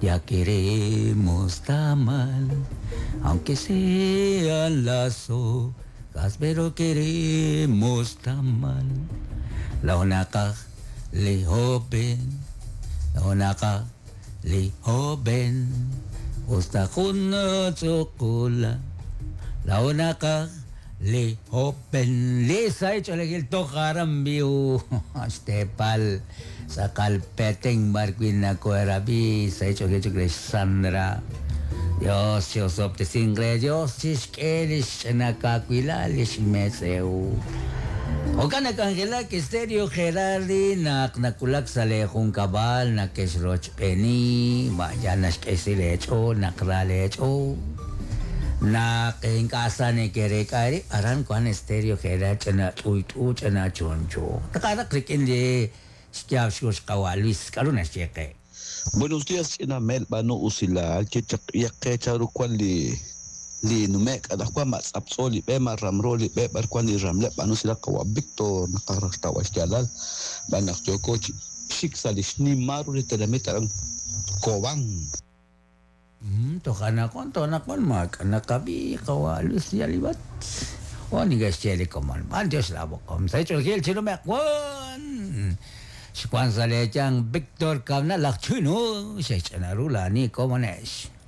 Ya queremos tamal, aunque sean las hojas, pero queremos tamal. Laonaka li joven, laonaka li joven, usta kuno tsukula. Laonaka li joven, li sa cholekil tokaram biu, stepal, sa kalpeteng barkwin na kuerabi, sa cholekil Sandra. Dios, Dios, optisingre, Dios, chishkelish, nakakwilalish, meseu. Oka nakangela Stereo Gerardi nak nakulak sa lejun kabal nakesroch peni vaya naxk'esilecho nakralecho nak en casa ne kerekari aran kwan Stereo Gerard chana t'uyt'u chana choncho taqaraq rik'in li xyaab xkux qawa Luis k'aru naxyeqe. Buenos días, ch'ina mel b'anu usilal yaqe charu kwan li li numek anaqwan ma tz'aptz'o li b'e ma ramro li b'e b'ar kwan li ramleb' b'anu usilal qawa Víctor naqaj xtawb'al xyaalal b'an naq yooko chi xik sa' li xnimal ru li tenamit aran Cobán. Toj anaqwan toj anaqwan maak'a naqab'i qawa Luis yalibat o nigaxye li komon b'an Dios laboqom sa ch'olgil chinumeq wan xwan sa lechan Víctor Kabna laj chino xech'anaru lani komonex.